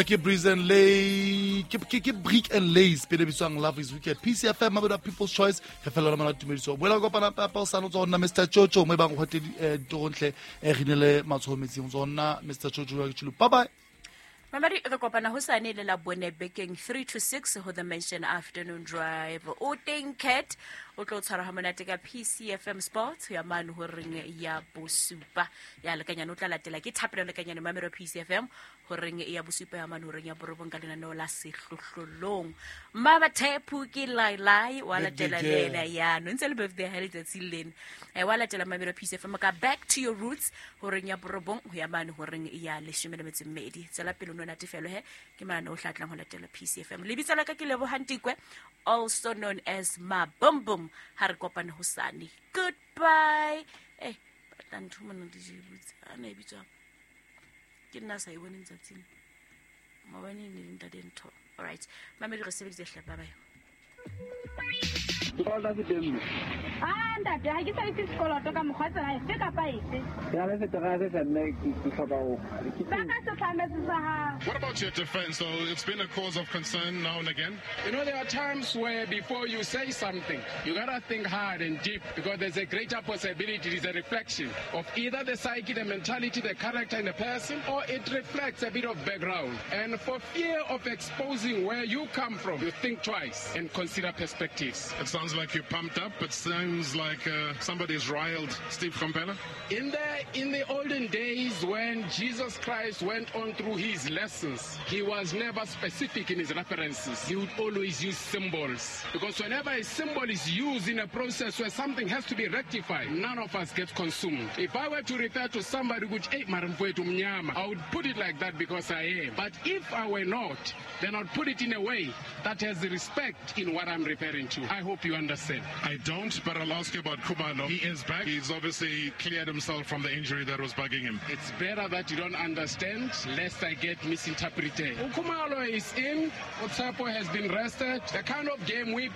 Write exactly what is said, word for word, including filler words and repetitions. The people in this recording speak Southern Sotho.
Ke Breeze and Lay, ke ke ke Brick and Lays pele bitswang Love is Wicked. P C F M, Mabedu People's Choice. Re fela mona tumediso. Boela kopana papa o sano tsona Mister Chocho mo e bang go te ditorontle e re nele matsoho metsing tsona Mister Chocho wa ke. Bye bye. Mamadi, re kopana hosane le la bone bekeng three to six ho The Mention Afternoon Drive. O teng Cat o tlo tshwara ha monate ka P C F M Sports ho ya mane ho reng ya bosupa ya lekanyane. O tla latela ke Thapelo Lekanyane, mamelo P C F M ho reng ya bosupa ya mane ho reng ya borobong ka lenaneo la Sehlohlolong. Mama Thepu ke lai lai wa latela le ena ya no ntse le birthday ha letsatsi lena. Eh, wa latela mamelo P C F M ka Back to Your Roots ho reng ya borobong ho ya mane ho reng ya leshome le metso e mmedi. Tswela pele no natefelo he ke mane o hlatlang ho latela P C F M. Lebitso la ka ke Lebohantikwe, also known as Mabumbum. Ha re kopane hosane. Goodbye. Eh, batla ntho mona D J Boots ana e bitswang ke nna sa e boneng tsatsing maobane ne le ntate ntho. Alright, mamedi, re sebeditse hle. Bye bye. Sekoloto se teng mme. Ah, ntate, ha ke sa itse sekoloto ka mokgwa tsela efe kapa efe. Ke na le seterata sa mme, ke ke hloka ho ke Ba ka setlhametse sa hao. What about your defense, though? It's been a cause of concern now and again. You know, there are times where before you say something, you gotta think hard and deep because there's a greater possibility it is a reflection of either the psyche, the mentality, the character in the person, or it reflects a bit of background. And for fear of exposing where you come from, you think twice and consider perspectives. It sounds like you're pumped up. It sounds like uh, somebody's riled Steve Komphela. In the in the olden days when Jesus Christ went on through his lessons, he was never specific in his references. He would always use symbols. Because whenever a symbol is used in a process where something has to be rectified, none of us gets consumed. If I were to refer to somebody which, hey, mara mfowethu mnyama, I would put it like that because I am. But if I were not, then I'd put it in a way that has respect in what I'm referring to. I hope you understand. I don't, but I'll ask you about Khumalo. He is back. He's obviously cleared himself from the injury that was bugging him. It's better that you don't understand, lest I get misinterpreted. uKhumalo is in. uTshepo has been rested. The kind of game we